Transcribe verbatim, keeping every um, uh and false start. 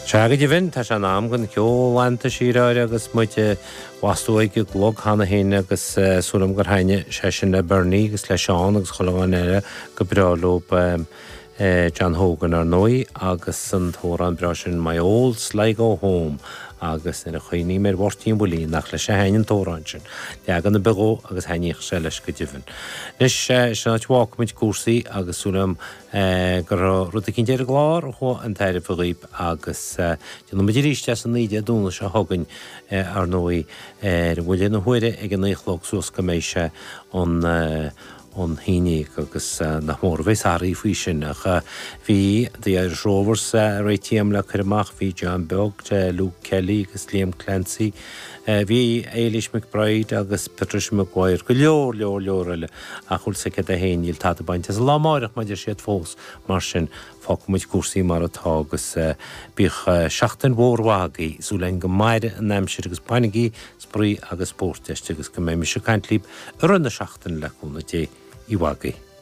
Sea go deimhin, tá sé in am don cheol leanta siar agus muid bhastú ag an gclog cheana féin agus súil agam gur thaitnigh sé sin le Bernie agus le Seán agus chuile dhuine eile go breá leo John Hogan ar ndóigh agus an t-amhrán breá sin My Old Sligo Home agus nuair a chuimhním ar Mháirtín Willie nach leis a thaitnigh an t-amhrán sin. Leagan ar bith dhó agus thaitníodh sé leis go deimhin. Anois sin áit a bhfágfaimid cúrsaí agus súil agam go raibh rud eicínt ar an gclár a chuaigh chun tairbhe dhaoib agus déanfaimid arís é san oíche Dé Domhnaigh seo chugainn ar ndóigh ar bhuille na huaire ag a naoi a chlog suas go mbeidh sé an an haon déag agus nach mór a bheas athraithe faoi sin ach bhí The Irish Rovers réitithe agam le cur amach, bhí John Beag, Luke Kelly agus Liam Clancy, bhí Éilís McBride agus Patricia Maguire, go leor leor leor eile ach bhfuil 's agat é féin níl tada bainte as an lá amárach mar a deir siad fós mar sin fágfaimid cúrsaí mar atá agus bíodh seachtain mhór mhaith agaibh, súil againn go maire an aimsir agus bainigí spraoi agus spórt aisti agus go mbeidh mise ag caint libh i rith na seachtaine le cúnamh Dé. Oíche mhaith agaibh.